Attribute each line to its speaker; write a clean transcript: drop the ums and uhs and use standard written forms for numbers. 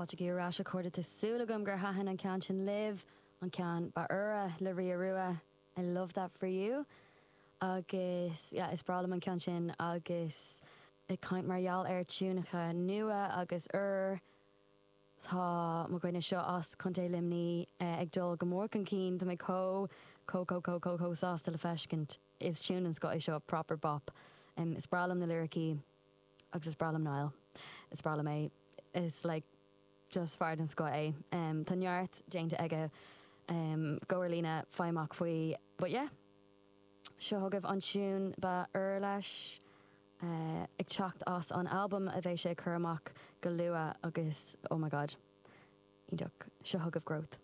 Speaker 1: Fáilte ar ais, a chairde. Tá súil agam gur thaitin an ceann sin libh, an ceann ba úire le Ria Rua, I love that for you. Agus yeah, is breá liom an ceann sin agus ag caint mar gheall ar tiúnacha nua agus úr, tá mo dhuine seo as Contae Luimní ag dul go mór chun cinn, tá mé chomh, chomh, chomh, chomh, chomh, chomh sásta le feiscint. Is tiún den scoth é seo, proper bop. Is breá liom na liricí. Agus is breá liom Niall. Is breá liom é. Is like just fear den scoth é. Tá neart déanta aige. Gabh ar líne, faigh amach faoi. But yeah. Seo chugaibh an tiún ba úire leis. Ag teacht as an albam a bheidh sé ag cur amach go luath agus oh my god. Iontach. Seo chugaibh Growth.